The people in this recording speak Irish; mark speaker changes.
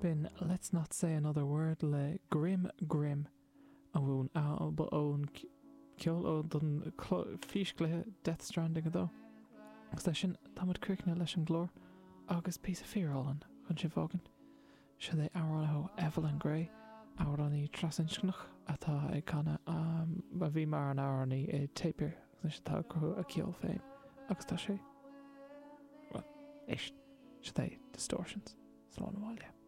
Speaker 1: B'in Let's Not Say Another Word le Grimm Grimm ón ón ceol ó don físchluiche Death Stranding 2. Agus leis sin táimid críochnaithe leis an gclár agus píosa fíorálainn chun sibh a fhágaint. Seo é amhrán ó Evelyn Gray, amhránaí trasinscneach atá ag canadh, a bhí mar an amhránaí i Tapir agus anois atá ag cruthú a ceol féin agus tá sé, bhuel, éist, seo é Distortions. Slán abhaile.